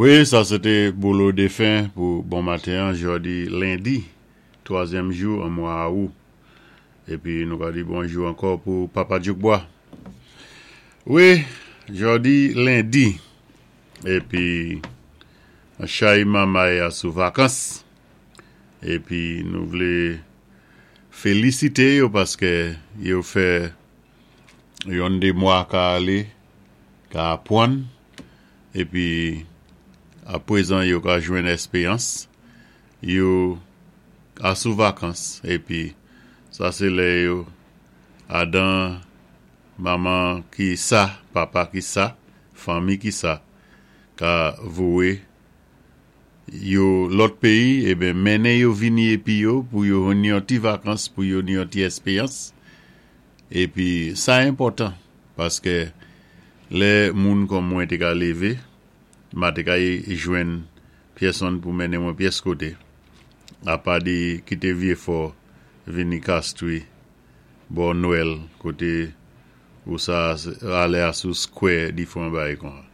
Wi, sa sé té Bolo Défen pou bon maten an jòdi lendi twazyèm jou an mwa Awou. Épi nou ka di bonjou ankò pou Papa Djoukbwa. Wi, jòdi lendi épi chay manmay a sou vakans épi nou vlé félisité yo paské yo fè yon dé mwa ka alé ka apwann Epi aprezan yo ka jwenn èspeyans, yo a sou vakans epi sa se lè yo adan manman ki sa, papa ki sa, fanmi ki sa ka vowe yo lòt peyi eben mennen yo vini epi yo pou yo jwenn yon ti vakans pou yo ni yon ti èspeyans epi sa enpòtan. Paske lè moun kòm mwen te ka leve, ma te ka jwenn pyèsonn pou mennen mwen pyès kote, apa de kite Vyefò vini Kastri bò Nwèl kote ou sa ale a sou skwè difran bagay konsa.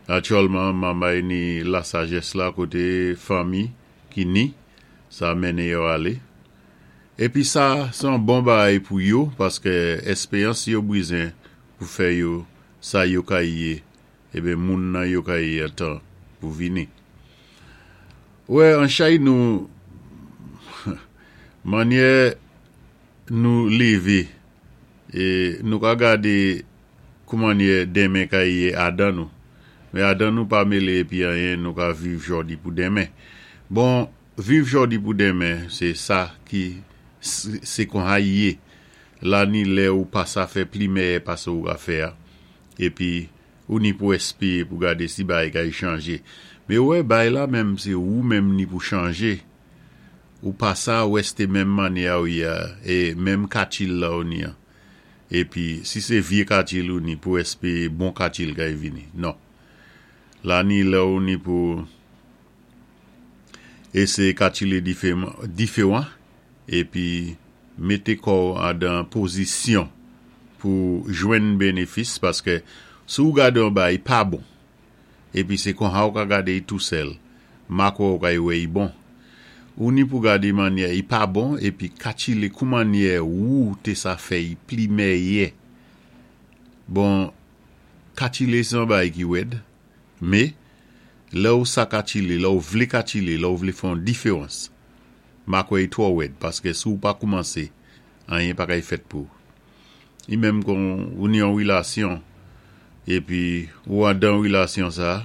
Natirèlman, manmay ni lasajès la kote fanmi ki ni sa mennen yo ale. Epi sa se yon bon bagay pou yo paske espeyans yo brizen pou fè yo sa yo ka ye eben moun nan yo ka ye an tan pou vini. Wè an chay nou manyè nou leve e nou ka gade koumanyè denmen ka ye adan nou men adan nou pa mele epi anyen nou ka viv jòdi pou denmen bon Viv jòdi pou denmen se sa ki se konha y ye la ni lè ou pa sa fè pli mèyè pase ou ka fè a epi ou ni pou espeye pou gade si bagay ka y chanje me wè bay la menm se ou menm ni pou chanje ou pa sa wèste menm manyè a ou ye a e menm katchil la ou ni an epi si se vye katchil ou ni pou espeye bon katchil ka y vini non la ni lè ou ni pou. Eseye katchile diferan epi mete kò w andan pozisyon pou jwenn benefis paske si w gade yon bagay pa bon epi se konsa w ka gade y tou sèl ma kwè w ka y wè y bon ou ni pou gade mannyè y pa bon epi katchile kou mannyè wou te sa fè y pli mèyè bon katchile se yon bagay ki wèd. Me, lè ou sa ka chile, lè ou vle ka chile, lè ou vle fè yon diferans, ma kwè i twò wèd, paske si ou pa koumanse, anyen pa kay fèt pou ou. I menm kon ou ni yon relasyon, epi ou andan relasyon sa,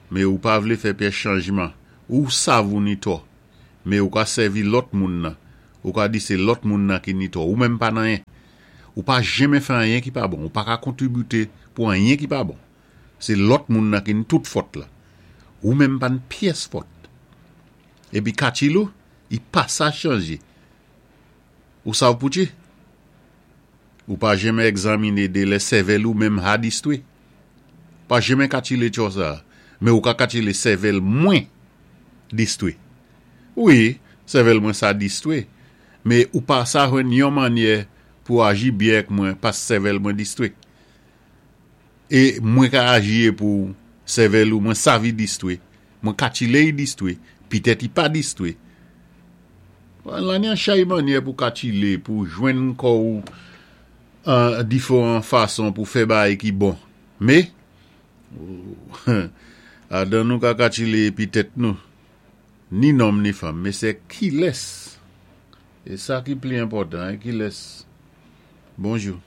me ou pa vle fè pyès chanjman, ou sav ou ni tò, me ou ka sèvi lòt moun nan, ou ka di se lòt moun nan ki ni tò, ou menm pa nan anyen. Ou pa jenmen fè anyen ki pa bon, ou pa ka kontribite pou anyen ki pa bon. Se lòt moun nan ki n tout fòt la. Ou menm pa n pyès fòt. Epi Kachilou, i pa sa chanje. Ou sav poutchi? Ou pa jenmen egzamine de lè sèvèl ou menm ha distwe. Pa jenmen katchile tchò sa. Men ou ka katchile sèvèl mwen distwe. Wi, sèvèl mwen sa distwe. Men ou pa sa jwenn yon mannyè pou aji byen ak mwen pas sèvèl mwen distwe. E mwen ka aji e pou sèvèl ou mwen savi distwe, mwen katchile y distwe, pitèt y pa distwe. Lan yon chay mannyè pou katchile, pou jwenn kò ou an diferan fason pou fè bagay ki bon. Me, adan nou ka katchile epi tèt nou, ni nonm ni fanm, me se kilès? E sa ki pli enpòtan, e kilès? Bonjou.